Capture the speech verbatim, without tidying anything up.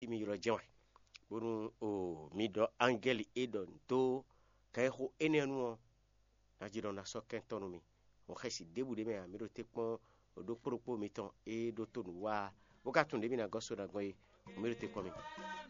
mi ylɔ́ jɛ́n wɛ, bónú o mi ɖɔ angɛ́li e ɖɔ nǔ dó kɛxixo énɛ́ nu ɔ́, ná jí ɖɔ ná sɔ́ kɛntɔ́ nú mi. Hɔn xɛsi ɖěbǔ ɖé mɛ ǎ, mi ɖo te kpɔ́n ɖokpó ɖokpó mitɔn e ɖótó nǔ wa, bó ka tunwun ɖě mi ná gɔ́ so ná gbɔn é, hɔn mi ɖo te kpɔ́n mi.